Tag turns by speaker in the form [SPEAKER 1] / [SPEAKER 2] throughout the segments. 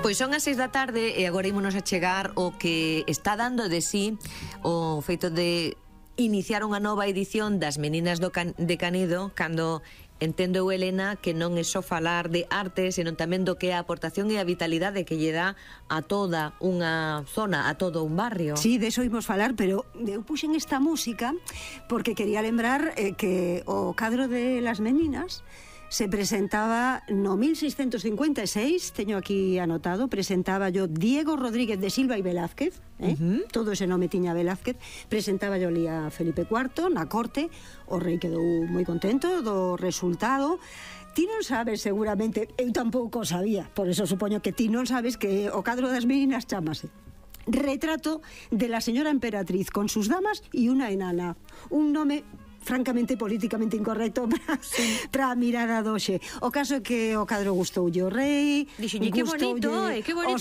[SPEAKER 1] Pois son as 6 da tarde e agora ímonos a chegar o que está dando de sí o feito de iniciar unha nova edición das Meninas de Canido, cando entendo eu, Elena, que non é só falar de arte, senón tamén do que é a aportación e a vitalidade que lle dá a toda unha zona, a todo un barrio.
[SPEAKER 2] Sí, de eso imos falar, pero eu puxen esta música porque quería lembrar que o cadro de las Meninas se presentaba no 1656, teño aquí anotado, presentaba yo Diego Rodríguez de Silva e Velázquez, todo ese nome tiña Velázquez, presentaba yo ali a Felipe IV na corte, o rei quedou moi contento do resultado. Ti non sabes seguramente, eu tampouco sabía, por eso supoño que ti non sabes que o cadro das Meninas chamase Retrato de la señora emperatriz con sus damas y una enana, un nome francamente políticamente incorrecto para a mirada doxe. O caso é que o cadro gustoulle o rei,
[SPEAKER 1] dixolle que bonito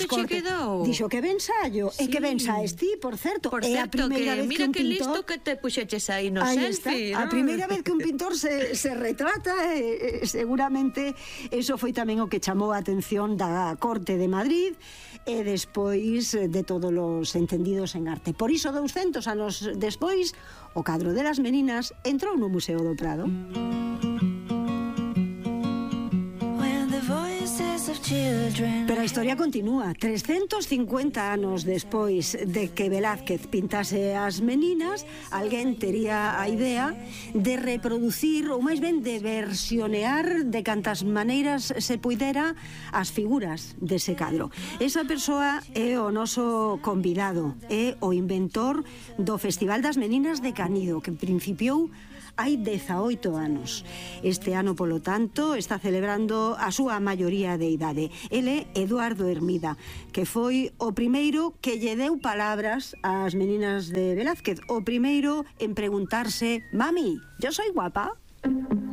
[SPEAKER 1] che quedou.
[SPEAKER 2] Dixo que ben sallo, e que ben saes ti, por certo.
[SPEAKER 1] Por certo, que mira que listo que te puxeches aí no selfie.
[SPEAKER 2] A primeira vez que un pintor se retrata, seguramente eso foi tamén o que chamou a atención da corte de Madrid e despois de todos os entendidos en arte. Por iso 200 anos despois, o cadro de las Meninas entrou no Museo do Prado. Pero a historia continúa. 350 anos despois de que Velázquez pintase as Meninas, alguén tería a idea de reproducir, ou máis ben de versionear de cantas maneiras se puidera as figuras dese cadro. Esa persoa é o noso convidado, é o inventor do Festival das Meninas de Canido, que principiou hai 18 anos. Este ano, polo tanto, está celebrando a súa maioría de idade. Ele é Eduardo Hermida, que foi o primeiro que lle deu palabras ás Meninas de Velázquez, o primeiro en preguntarse: «Mami, ¿yo soy guapa?».